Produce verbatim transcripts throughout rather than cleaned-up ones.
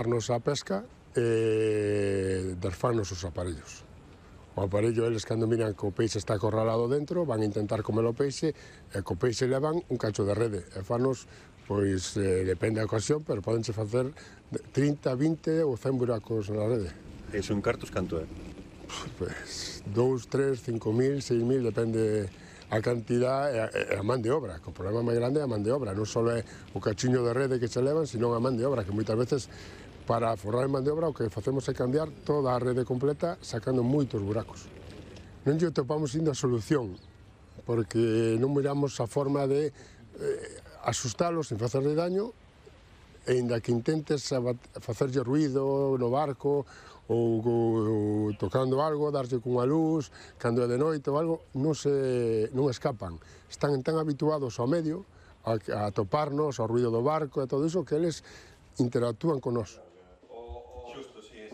darnos a pesca e desfannos os aparellos. O aparello, eles cando miran que o peixe está acorralado dentro, van a intentar comer o peixe, e co peixe levan un cacho de rede, e fanos, pois, eh, depende da ocasión, pero podense facer trinta, vinte ou cen buracos na rede. E son cartos canto é? Pois, dous, tres, cinco mil, seis mil, depende a cantidad e a, a man de obra, que o problema máis grande é a man de obra, non só é o cachiño de rede que se levan, sino a man de obra, que moitas veces, para forrar a man de obra, o que facemos é cambiar toda a rede completa, sacando moitos buracos. Non lle topamos indo a solución, porque non miramos a forma de eh, asustalos sin facerle daño, e inda que intentes facerlle ruido no barco, ou, ou tocando algo, darlle cunha luz, cando é de noite ou algo, non, se, non escapan. Están tan habituados ao medio, a, a toparnos, ao ruido do barco e todo iso, que eles interactúan con nós.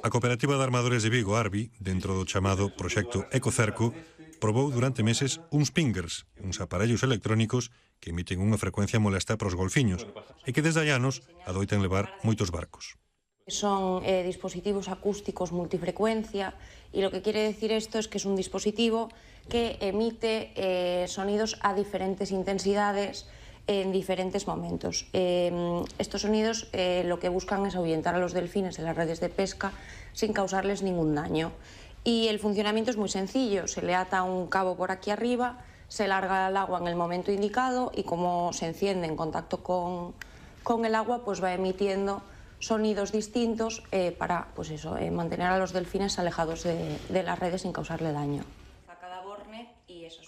A Cooperativa de Armadores de Vigo, Arbi, dentro do chamado proxecto Ecocerco, probou durante meses uns pingers, uns aparellos electrónicos que emiten unha frecuencia molesta para os golfiños e que desde hai anos adoitan levar moitos barcos. Son eh, dispositivos acústicos multifrecuencia y lo que quiere decir esto es que es un dispositivo que emite eh, sonidos a diferentes intensidades en diferentes momentos. Eh, estos sonidos eh, lo que buscan es ahuyentar a los delfines en las redes de pesca sin causarles ningún daño. Y el funcionamiento es muy sencillo, se le ata un cabo por aquí arriba, se larga el agua en el momento indicado y como se enciende en contacto con, con el agua, pues va emitiendo sonidos distintos eh, para pues eso, eh, mantener a los delfines alejados de, de las redes sin causarle daño.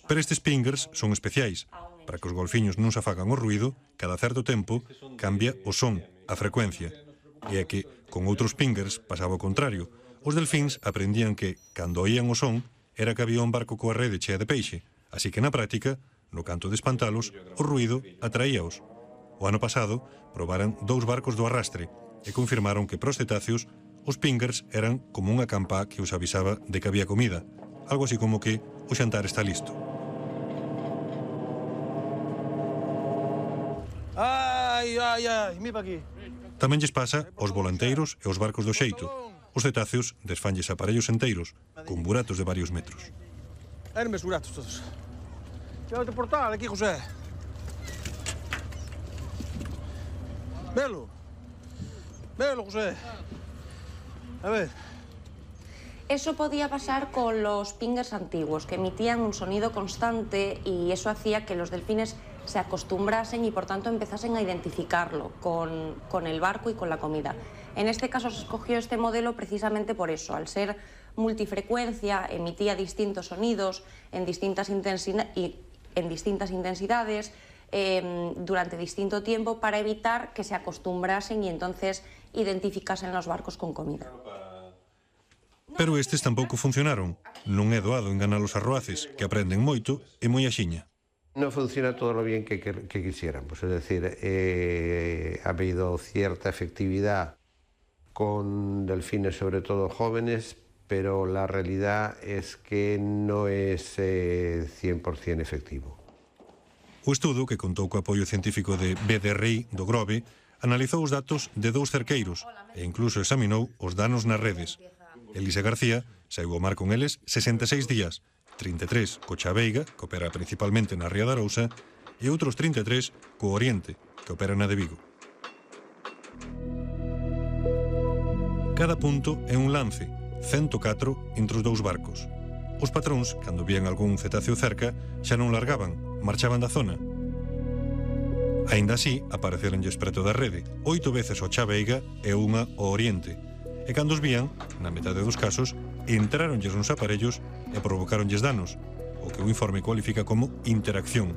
Pero estes pingers son especiais. Para que os golfiños non se afagan o ruido, cada certo tempo cambia o son, a frecuencia. E é que, con outros pingers, pasaba o contrario. Os delfíns aprendían que, cando oían o son, era que había un barco coa rede chea de peixe. Así que na práctica, no canto de espantalos, o ruido atraíaos. O ano pasado, probaran dous barcos do arrastre, e confirmaron que para os cetáceos os pingers eran como unha campá que os avisaba de que había comida, algo así como que o xantar está listo. Ai, ai, ai, mi pa aquí. Tamén lles pasa aos volanteiros e aos barcos do xeito. Os cetáceos desfanlles aparellos enteiros, con buratos de varios metros. Eran mes buratos todos. Llévate portal aquí, José. Velo. Velo, José. A ver. Eso podía pasar con los pingers antiguos, que emitían un sonido constante y eso hacía que los delfines se acostumbrasen y por tanto empezasen a identificarlo con, con el barco y con la comida. En este caso se escogió este modelo precisamente por eso, al ser multifrecuencia, emitía distintos sonidos en distintas, intensi- y en distintas intensidades, eh, durante distinto tiempo para evitar que se acostumbrasen y entonces identificasen los barcos con comida. Pero estes tampouco funcionaron. Non é doado enganar os arroaces, que aprenden moito e moi axiña. No funciona todo lo bien que, que, que quisiéramos, es decir, eh, ha habido cierta efectividad con delfines, sobre todo jóvenes, pero la realidad es que no es eh, cien por cien efectivo. O estudo, que contou co apoio científico de B D R I do Grove, analizou os datos de dous cerqueiros e incluso examinou os danos nas redes. Elisa García saiu ao mar con eles sesenta e seis días, trinta e tres co Chaveiga, que opera principalmente na Ría da Arousa, e outros trinta e tres co Oriente, que opera na de Vigo. Cada punto é un lance, cento catro entre os dous barcos. Os patróns, cando vían algún cetáceo cerca, xa non largaban, marchaban da zona. Aínda así, apareceronlles preto da rede, oito veces ao Chaveiga e unha ao Oriente. E cando os vían, na metade dos casos, entráronlles nos aparellos e provocáronlles danos, o que o informe cualifica como interacción.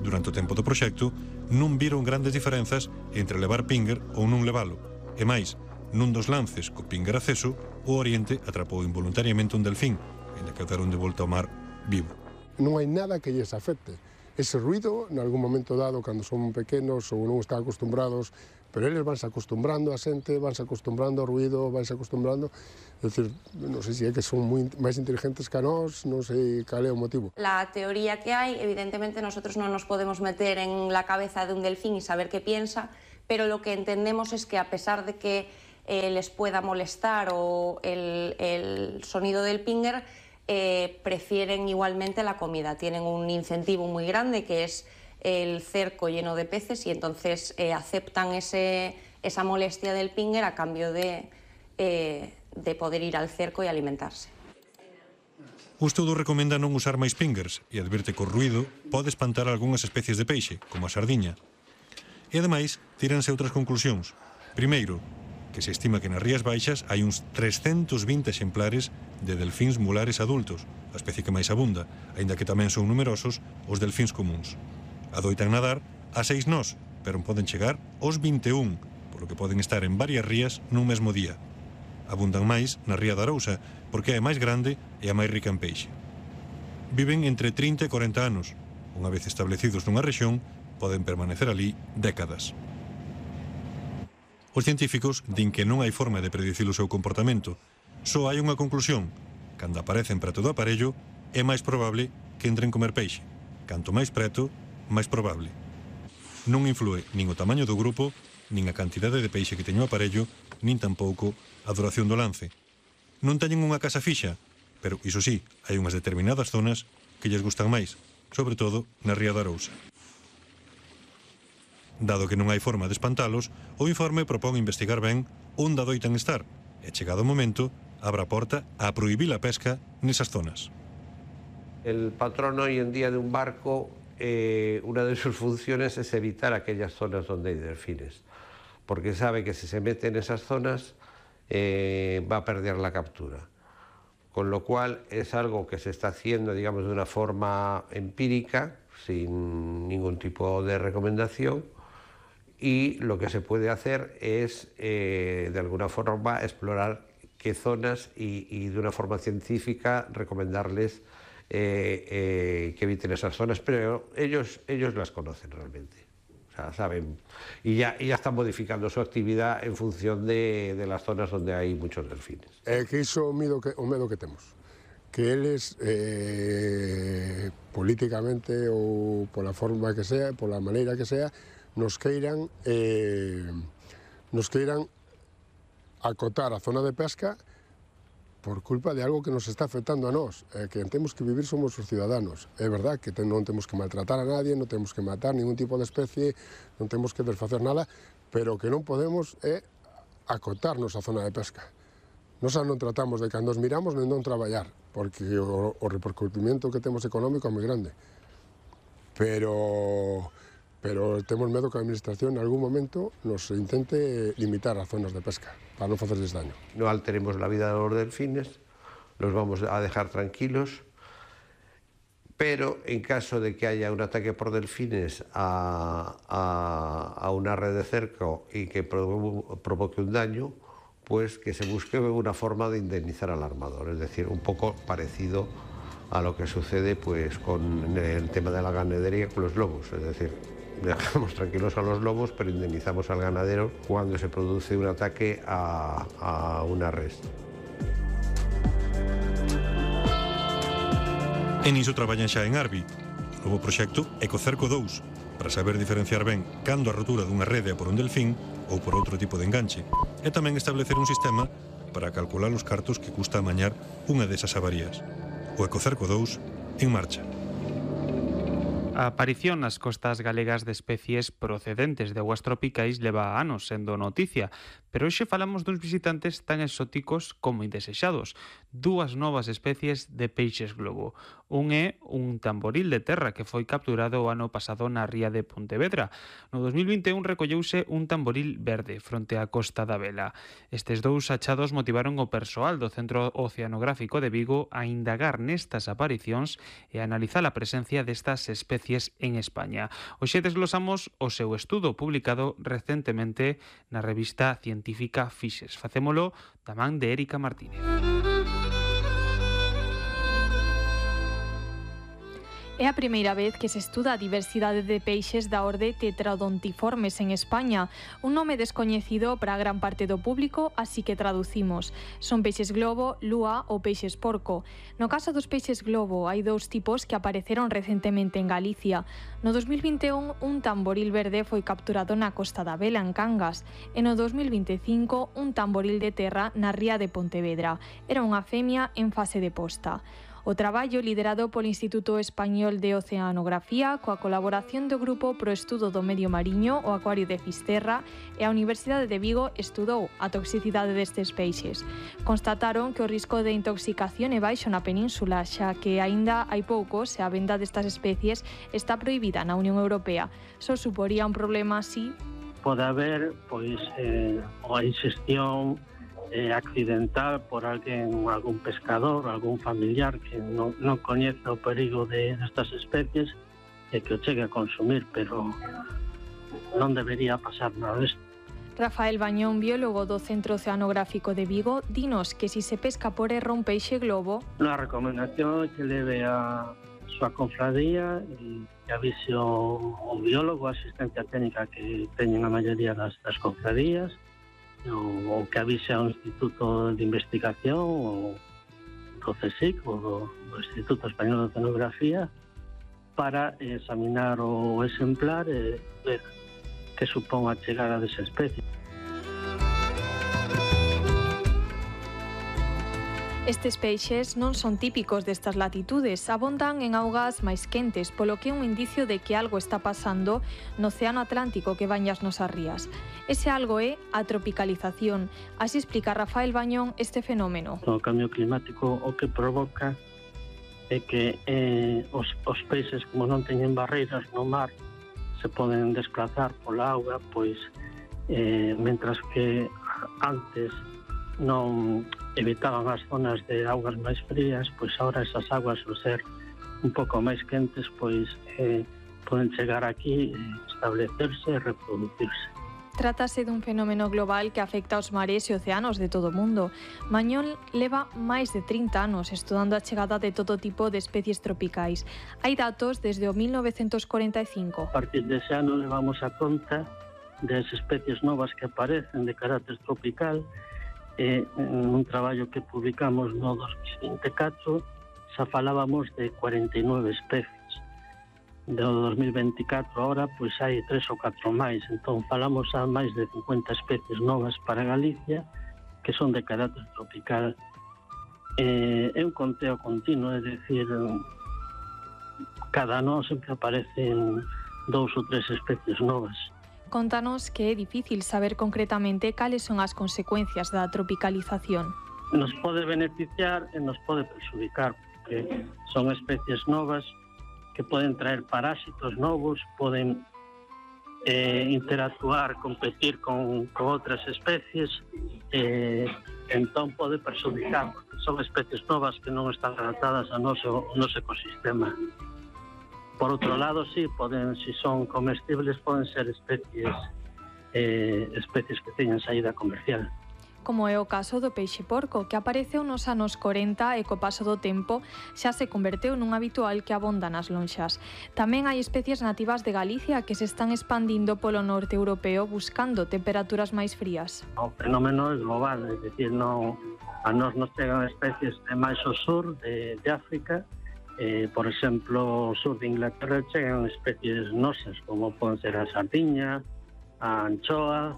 Durante o tempo do proxecto, non viron grandes diferenzas entre levar pinger ou non levalo. E máis, nun dos lances co pinger acceso, o Oriente atrapou involuntariamente un delfín, ainda que o deron de volta ao mar vivo. Non hai nada que lles afecte. Ese ruido, en algún momento dado, cando son pequenos ou non están acostumbrados, pero eles vanse acostumbrando a xente, vanse acostumbrando ao ruido, vanse acostumbrando, é dicir, non sei se é que son moi, máis inteligentes que a nós, non sei cal é o motivo. La teoría que hay, evidentemente nosotros no nos podemos meter en la cabeza de un delfín y saber qué piensa, pero lo que entendemos es que a pesar de que eh, les pueda molestar o el, el sonido del pinger, eh, prefieren igualmente la comida. Tienen un incentivo muy grande que es el cerco lleno de peces y entonces eh, aceptan ese, esa molestia del pinger a cambio de, eh, de poder ir al cerco e alimentarse. O estudo recomenda non usar máis pingers e advirte que o ruído pode espantar algunhas especies de peixe, como a sardiña. E ademais, tíranse outras conclusións. Primeiro, que se estima que nas Rías Baixas hai uns trescentos vinte exemplares de delfíns mulares adultos, a especie que máis abunda, aínda que tamén son numerosos os delfíns comuns. Adoitan nadar a seis nós, pero poden chegar aos vinte e un, polo que poden estar en varias rías nun mesmo día. Abundan máis na Ría da Arousa, porque é a máis grande e a máis rica en peixe. Viven entre trinta e corenta anos. Unha vez establecidos nunha rexión, poden permanecer ali décadas. Os científicos din que non hai forma de predicir o seu comportamento. Só hai unha conclusión. Cando aparecen preto do aparello, é máis probable que entren comer peixe. Canto máis preto, máis probable. Non inflúe nin o tamaño do grupo, nin a cantidade de peixe que teño o aparello, nin tampouco a duración do lance. Non teñen unha casa fixa, pero, iso sí, hai unhas determinadas zonas que lles gustan máis, sobre todo na Ría da Arousa. Dado que non hai forma de espantalos, o informe propón investigar ben onde adoitan estar, e chegado o momento, abra a porta a prohibir a pesca nesas zonas. El patrón hoy en día de un barco, eh, una de sus funciones es evitar aquellas zonas donde hay delfines, porque sabe que si se mete en esas zonas eh, va a perder la captura. Con lo cual es algo que se está haciendo, digamos, de una forma empírica, sin ningún tipo de recomendación, y lo que se puede hacer es, eh, de alguna forma, explorar qué zonas y, y de una forma científica recomendarles eh, eh, que eviten esas zonas, pero ellos, ellos las conocen realmente. O sea, saben, y ya, y ya están modificando su actividad en función de, de las zonas donde hay muchos delfines. É que iso o medo que, o medo que temos, que eles eh, políticamente ou pola forma que sea, pola maneira que sea, nos queiran eh, nos queiran acotar a zona de pesca por culpa de algo que nos está afectando a nós, eh, que temos que vivir somos os ciudadanos. É verdad que te, non temos que maltratar a nadie, non temos que matar ningún tipo de especie, non temos que desfacer nada, pero que non podemos é acotarnos a zona de pesca. Nos non tratamos de cando os miramos nem non traballar, porque o, o repercutimiento que temos económico é moi grande. Pero, pero temos medo que a administración en algún momento nos intente limitar as zonas de pesca para non facerles daño. No alteremos la vida de los delfines, los vamos a dejar tranquilos, pero en caso de que haya un ataque por delfines a, a, a una red de cerco y que provoque un daño, pues que se busque una forma de indemnizar al armador, es decir, un poco parecido a lo que sucede pues con el tema de la ganadería con los lobos, es decir, dejamos tranquilos a los lobos, pero indemnizamos al ganadero cuando se produce un ataque a, a una res. En iso traballan xa en Arbi, o novo proxecto Ecocerco dous, para saber diferenciar ben cando a rotura dunha rede é por un delfín ou por outro tipo de enganche, e tamén establecer un sistema para calcular os cartos que custa amañar unha desas avarías. O Ecocerco dous en marcha. A aparición nas costas galegas de especies procedentes de augas tropicais leva anos sendo noticia, pero hoxe falamos duns visitantes tan exóticos como indesexados, dúas novas especies de peixes globo. Un é un tamboril de terra que foi capturado o ano pasado na ría de Pontevedra. No dos mil vinte e un recolleuse un tamboril verde fronte á Costa da Vela. Estes dous achados motivaron o persoal do Centro Oceanográfico de Vigo a indagar nestas aparicións e a analizar a presencia destas especies en España. Hoxe desglosamos o seu estudo publicado recentemente na revista científica Fixes. Facémolo da man de Érica Martínez. É a primeira vez que se estuda a diversidade de peixes da orde Tetradontiformes en España, un nome descoñecido para gran parte do público, así que traducimos. Son peixes globo, lúa ou peixes porco. No caso dos peixes globo, hai dous tipos que apareceron recentemente en Galicia. No dos mil vinte e un, un tamboril verde foi capturado na Costa da Vela, en Cangas, e no dos mil vinte e cinco, un tamboril de terra na ría de Pontevedra. Era unha femia en fase de posta. O traballo, liderado polo Instituto Español de Oceanografía, coa colaboración do Grupo pro Estudo do Medio Mariño, o Acuario de Fisterra e a Universidade de Vigo, estudou a toxicidade destes peixes. Constataron que o risco de intoxicación é baixo na península, xa que aínda hai poucos e a venda destas especies está prohibida na Unión Europea. Só suporía un problema así. Pode haber, pois, eh, a inxestión Eh, accidental por alguén, algún pescador, algún familiar que non, non coñece o perigo de estas especies e que o chegue a consumir, pero non debería pasar nada disto. Rafael Bañón, biólogo do Centro Oceanográfico de Vigo, dinos que si se pesca por erro un peixe globo... Unha recomendación é que leve a súa confradía e que avise o, o biólogo, a asistencia técnica que teñen a maioría das, das confradías, ou que avise ao Instituto de Investigación ou do CSIC ou do, do Instituto Español de Oceanografía para examinar o exemplar e ver que supón a chegada desa especie. Estes peixes non son típicos destas latitudes, abondan en augas máis quentes, polo que é un indicio de que algo está pasando no Océano Atlántico que baña as nosas rías. Ese algo é a tropicalización. Así explica Rafael Bañón este fenómeno. O cambio climático o que provoca é que eh, os, os peixes, como non teñen barreiras no mar, se poden desplazar pola auga, pois, eh, mentras que antes non evitaban as zonas de augas máis frías, pois agora esas augas, ao ser un pouco máis quentes, pois eh, poden chegar aquí, establecerse e reproducirse. Trátase dun fenómeno global que afecta aos mares e océanos de todo o mundo. Bañón leva máis de trinta anos estudando a chegada de todo tipo de especies tropicais. Hai datos desde o mil novecentos corenta e cinco. A partir dese ano levamos a conta das especies novas que aparecen de carácter tropical. E en un traballo que publicamos no dos mil vinte e catro xa falábamos de cuarenta e nove especies. Do dos mil vinte e catro agora pois hai tres ou catro máis, entón falamos a máis de cincuenta especies novas para Galicia que son de carácter tropical. Eh, é un conteo continuo, é dicir, cada ano sempre aparecen dous ou tres especies novas. Contanos que é difícil saber concretamente cales son as consecuencias da tropicalización. Nos pode beneficiar e nos pode perxudicar, porque son especies novas que poden traer parásitos novos, poden eh, interactuar, competir con, con outras especies, eh, entón pode perxudicar, porque son especies novas que non están adaptadas ao noso, ao noso ecosistema. Por outro lado, sí, poden, si son comestibles, poden ser especies eh, especies que teñen saída comercial. Como é o caso do peixe porco, que apareceu nos anos corenta e co paso do tempo xa se converteu nun habitual que abonda nas lonxas. Tamén hai especies nativas de Galicia que se están expandindo polo norte europeo buscando temperaturas máis frías. O fenómeno é global, é dicir, non, a nos nos chegan especies de máis ao sur de, de África. Eh, por exemplo, o sur de Inglaterra chegan especies nosas, como poden ser a sardiña, a anchoa,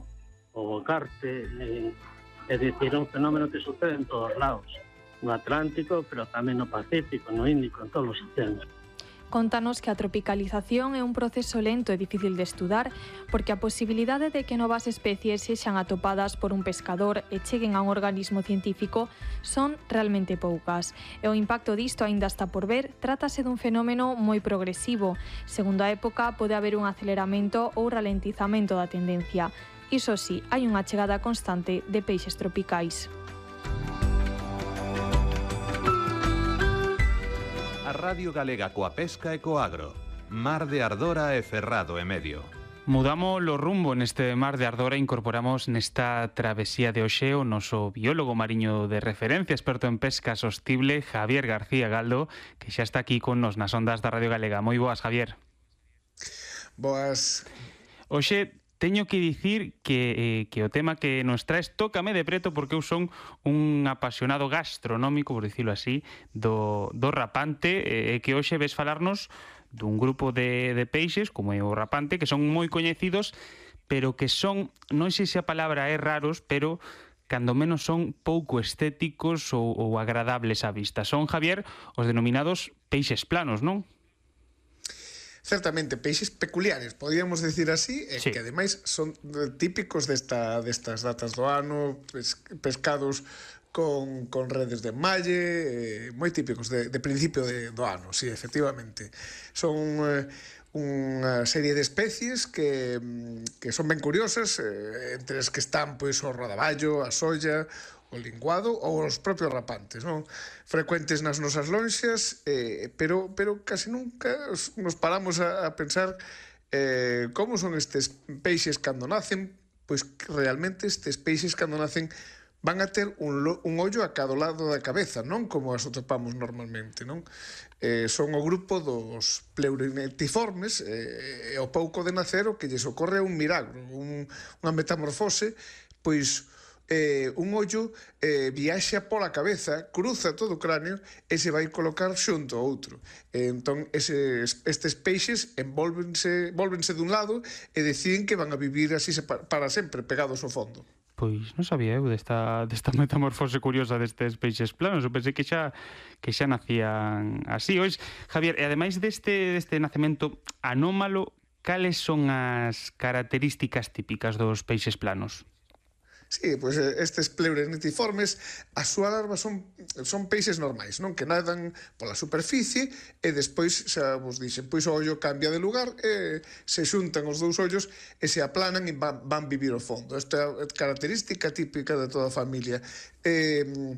o carpe. Eh, é dicir, é un fenómeno que sucede en todos lados, no Atlántico, pero tamén no Pacífico, no Índico, en todos os océanos. Contanos que a tropicalización é un proceso lento e difícil de estudar porque a posibilidade de que novas especies sexan atopadas por un pescador e cheguen a un organismo científico son realmente poucas. E o impacto disto aínda está por ver, trátase dun fenómeno moi progresivo. Segundo a época, pode haber un aceleramento ou ralentizamento da tendencia. Iso sí, hai unha chegada constante de peixes tropicais. A Radio Galega coa pesca e co agro. Mar de Ardora e Ferrado e Medio. Mudamos o rumbo neste mar de ardor e incorporamos nesta travesía de hoxe o noso biólogo mariño de referencia, experto en pesca sostible, Javier García Galdo, que xa está aquí con nos nas ondas da Radio Galega. Moi boas, Javier. Boas. Hoxe teño que dicir que, eh, que o tema que nos traes tócame de preto porque eu son un apasionado gastronómico, por dicilo así, do, do rapante, e eh, que hoxe ves falarnos dun grupo de, de peixes, como é o rapante, que son moi coñecidos, pero que son, non sei se a palabra é raros, pero cando menos son pouco estéticos ou, ou agradables á vista. Son, Javier, os denominados peixes planos, non? Certamente, peixes peculiares, podíamos decir así, e sí, que ademais son típicos desta, destas datas do ano, pes, pescados con, con redes de enmalle, eh, moi típicos de, de principio de, do ano, sí, efectivamente. Son eh, unha serie de especies que, que son ben curiosas, eh, entre as que están pois, o rodaballo, a solla, o linguado ou os propios rapantes, non? Frecuentes nas nosas lonxas, eh, pero, pero casi nunca nos paramos a, a pensar eh, como son estes peixes cando nacen, pois realmente estes peixes cando nacen van a ter un, un ollo a cada lado da cabeza, non como as atopamos normalmente, non? Eh, son o grupo dos pleuronectiformes, eh, e o pouco de nacer o que lles ocorre un milagro, un, unha metamorfose, pois eh, un ollo eh, viaxa pola cabeza, cruza todo o cráneo e se vai colocar xunto ao outro. Eh, entón, eses, estes peixes envolvense, volvense dun lado e deciden que van a vivir así para sempre, pegados ao fondo. Pois non sabía eu desta, desta metamorfose curiosa destes peixes planos. Eu pensei que xa que xa nacían así. Ois, Javier, e ademais deste, deste nacemento anómalo, cales son as características típicas dos peixes planos? Sí, pois estes pleuronectiformes, as súas larvas son, son peixes normais, non? Que nadan pola superficie e despois, xa vos dixen, pois o ollo cambia de lugar e se xuntan os dous ollos e se aplanan e van, van vivir ao fondo. Esta é característica típica de toda a familia. Eh,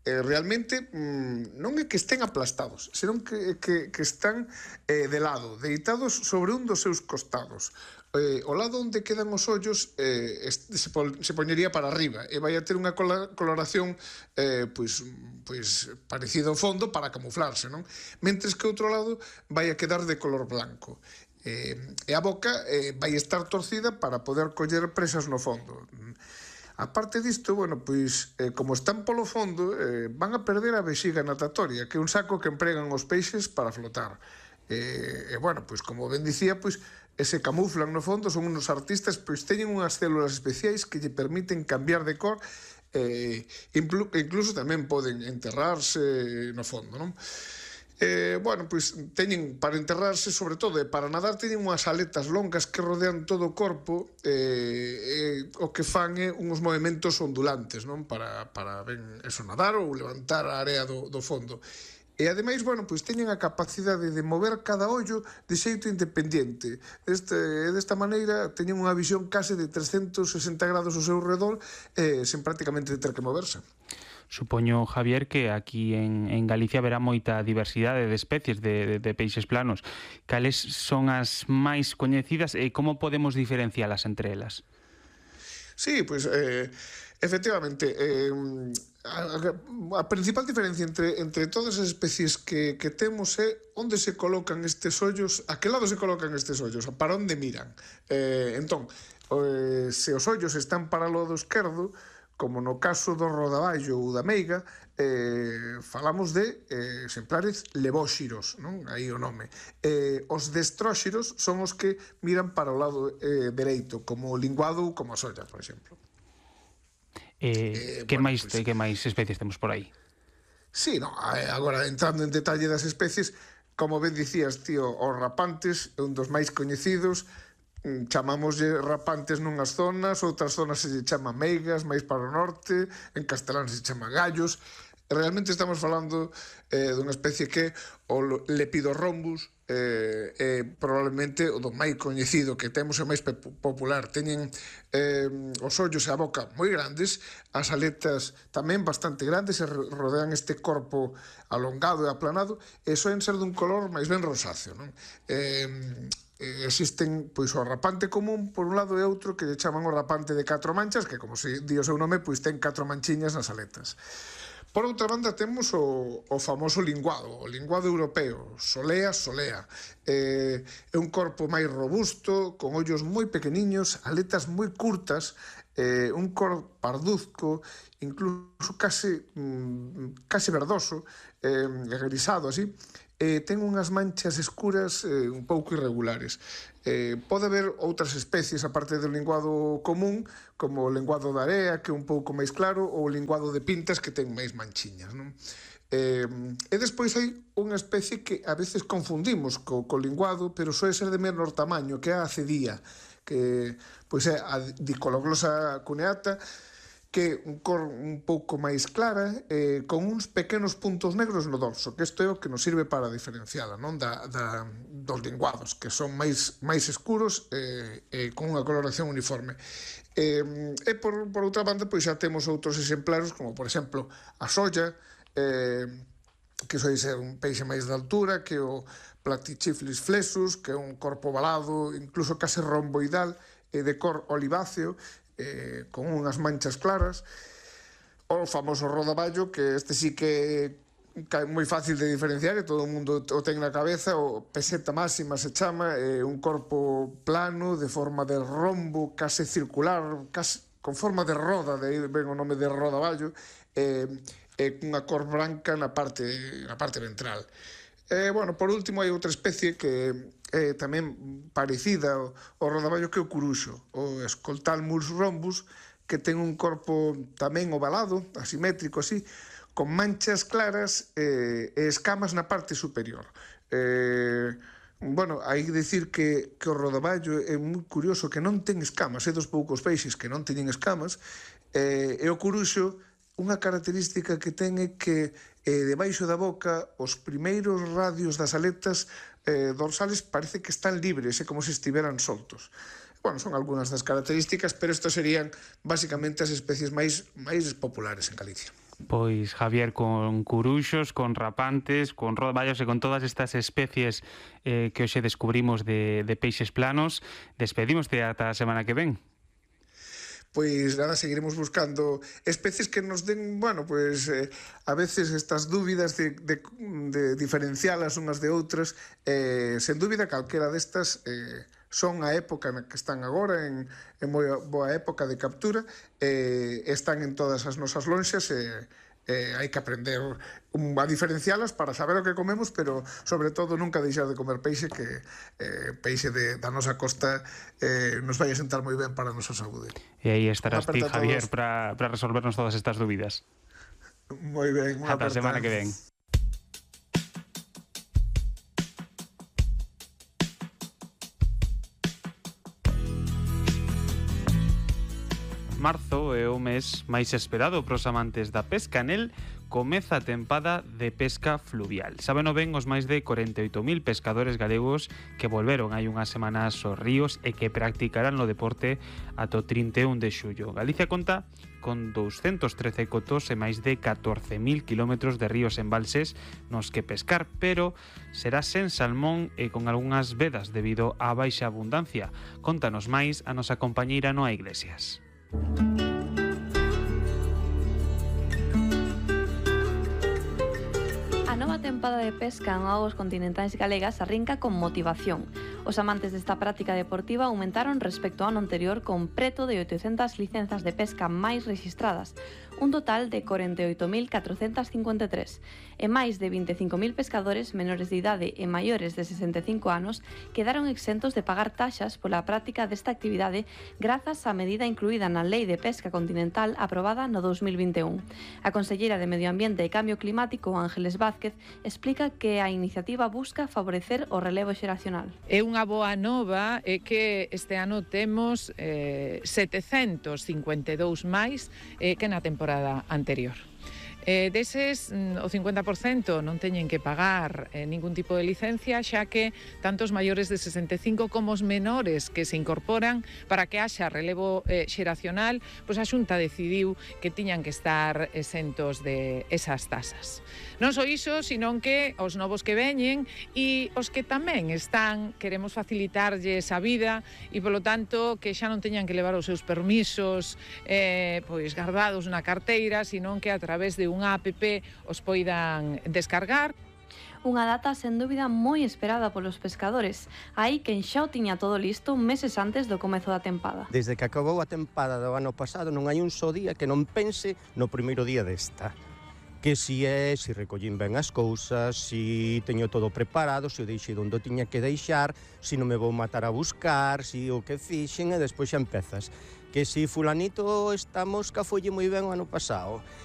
eh, realmente mm, non é que estén aplastados, senón que, que, que están eh, de lado, deitados sobre un dos seus costados. Eh, o lado onde quedan os ollos eh, se, pol, se poñería para arriba e vai a ter unha coloración eh, pois, pois parecida ao fondo para camuflarse, non? Mentres que o outro lado vai a quedar de color blanco. Eh, e a boca eh, vai estar torcida para poder coller presas no fondo. A parte disto, bueno, pois, eh, como están polo fondo, eh, van a perder a vexiga natatoria, que é un saco que empregan os peixes para flotar. E, eh, eh, bueno, pois, como ben dicía, pois, e se camuflan no fondo, son unos artistas, pois teñen unhas células especiais que lle permiten cambiar de cor, e inclu, incluso tamén poden enterrarse no fondo, non? Eh, bueno, pois teñen para enterrarse, sobre todo, e para nadar teñen unhas aletas longas que rodean todo o corpo, e, e o que fan é uns movimentos ondulantes, non? Para, para ben, eso, nadar ou levantar a area do, do fondo. E ademais, bueno, pois teñen a capacidade de mover cada ollo de xeito independente. Este, desta maneira teñen unha visión case de trescentos sesenta grados ao seu redor eh, sen prácticamente ter que moverse. Supoño, Javier, que aquí en, en Galicia verá moita diversidade de especies de, de, de peixes planos. Cales son as máis coñecidas e como podemos diferencialas entre elas? Sí, pois, eh, efectivamente, eh, a, a principal diferencia entre, entre todas as especies que, que temos é onde se colocan estes ollos, a que lado se colocan estes ollos, para onde miran. Eh, entón, eh, se os ollos están para o lado esquerdo, como no caso do rodaballo ou da meiga, eh, falamos de eh, exemplares levóxiros, non? Aí o nome. Eh, os destróxiros son os que miran para o lado eh, dereito, como o linguado ou como a solla, por exemplo. Eh, eh, que, bueno, máis, pues, que máis especies temos por aí? Sí, no, agora entrando en detalle das especies, como ben dicías, tío, os rapantes é un dos máis coñecidos. Chamámoslle rapantes nunhas zonas, outras zonas se chama meigas, máis para o norte, en castelán se chama gallos. Realmente estamos falando eh, dunha especie que o Lepidorhombus eh, é probablemente o do máis coñecido que temos e máis popular. Teñen eh, os ollos e a boca moi grandes, as aletas tamén bastante grandes e rodean este corpo alongado e aplanado e soen ser dun color máis ben rosáceo, non? Eh, eh, existen pois o rapante común por un lado e outro que lle chaman o rapante de catro manchas, que como se di o seu nome, pois ten catro manchiñas nas aletas. Por outra banda temos o, o famoso linguado, o linguado europeo, solea, solea. Eh, é un corpo máis robusto, con ollos moi pequeniños, aletas moi curtas, eh, un cor parduzco, incluso case, mm, case verdoso, eh, grisado así, eh, ten unhas manchas escuras eh, un pouco irregulares. Eh, pode haber outras especies aparte do linguado común, como o linguado da area, que é un pouco máis claro, ou o linguado de pintas, que ten máis manchiñas, non? Eh, e despois hai unha especie que a veces confundimos co, co linguado, pero soe ser de menor tamaño, que é a acedía, que pois é a Dicologlossa cuneata, que un cor un pouco máis clara, eh, con uns pequenos puntos negros no dorso, que isto é o que nos sirve para diferenciala, non, da, da, dos linguados, que son máis, máis escuros e eh, eh, con unha coloración uniforme. Eh, e por, por outra banda, pois xa temos outros exemplares, como por exemplo a solla, eh, que soe ser un peixe máis de altura, que o Platychiflis flexus, que é un corpo ovalado, incluso case romboidal, e de cor oliváceo, Eh, con unhas manchas claras, o famoso rodaballo, que este sí que é moi fácil de diferenciar e todo o mundo o ten na cabeza, o peseta máxima se chama, eh, un corpo plano, de forma de rombo, case circular, case, con forma de roda, de aí ven o nome de rodaballo, e eh, unha cor branca na parte, na parte ventral. Eh, bueno, por último, hai outra especie que é tamén parecida ao, ao rodaballo, que é o curuxo, o Escoltalmus rhombus, que ten un corpo tamén ovalado, asimétrico así, con manchas claras eh, e escamas na parte superior. Eh, bueno, hai que dicir que, que o rodaballo é moi curioso, que non ten escamas, é dos poucos peixes que non teñen escamas, eh, e o curuxo, unha característica que ten é que eh, debaixo da boca os primeiros radios das aletas eh, dorsales parece que están libres, é como se estiveran soltos. Bueno, son algunhas das características, pero estas serían basicamente as especies máis máis populares en Galicia. Pois, Javier, con curuxos, con rapantes, con rodaballos e con todas estas especies eh, que hoxe descubrimos de, de peixes planos, despedimos ata a semana que ven. Pois nada, seguiremos buscando especies que nos den, bueno, pois eh, a veces estas dúbidas de, de, de diferencialas unhas de outras, eh, sen dúbida calquera destas eh, son a época na que están agora, en, en moi boa época de captura, eh, están en todas as nosas lonxas e eh, eh, hai que aprender um, a diferencialas para saber o que comemos, pero sobre todo nunca deixar de comer peixe, que eh, peixe de, da nosa costa eh, nos vai a sentar moi ben para a nosa saúde. E aí estarás ti, Javier, para resolvernos todas estas dúbidas. Moi ben, unha ata a semana que ven. Marzo é o mes máis esperado pros amantes da pesca. Nel comeza a tempada de pesca fluvial. Sabeno ben os máis de corenta e oito mil pescadores galegos que volveron hai unhas semanas aos ríos e que practicarán no deporte ata o trinta e un de xullo. Galicia conta con douscentos trece cotos e máis de catorce mil kilómetros de ríos e embalses nos que pescar, pero será sen salmón e con algunhas vedas debido á baixa abundancia. Contanos máis a nosa compañeira Noa Iglesias. A nova tempada de pesca en augas continentais galegas arrinca con motivación. Os amantes desta práctica deportiva aumentaron respecto ao ano anterior con preto de oitocentas licenzas de pesca máis rexistradas, un total de corenta e oito mil catrocentas cincuenta e tres, e máis de vinte e cinco mil pescadores menores de idade e maiores de sesenta e cinco anos quedaron exentos de pagar taxas pola práctica desta actividade grazas á medida incluída na Lei de Pesca Continental aprobada no dous mil vinte e un. A conselleira de Medio Ambiente e Cambio Climático, Ángeles Vázquez, explica que a iniciativa busca favorecer o relevo xeracional. É unha boa nova é que este ano temos eh, setecentos cincuenta e dous máis eh, que na temporada anterior. Eh, deses, o cincuenta por cento non teñen que pagar eh, ningún tipo de licencia, xa que tanto os maiores de sesenta e cinco como os menores que se incorporan para que haxa relevo eh, xeracional, pois a Xunta decidiu que tiñan que estar exentos de esas tasas. Non só iso, senón que os novos que veñen e os que tamén están, queremos facilitarlles a vida e, polo tanto, que xa non teñan que levar os seus permisos eh, pois guardados na carteira, senón que a través de unha app os poidan descargar. Unha data sen dúbida moi esperada polos pescadores. Aí quen xa o tiña todo listo meses antes do comezo da tempada. Desde que acabou a tempada do ano pasado non hai un só día que non pense no primeiro día desta. Que si é, si recollín ben as cousas, si teño todo preparado, si o deixei onde o tiña que deixar, si non me vou matar a buscar, si o que fixen e despois xa empezas. Que si fulanito estamos que folle moi ben o ano pasado,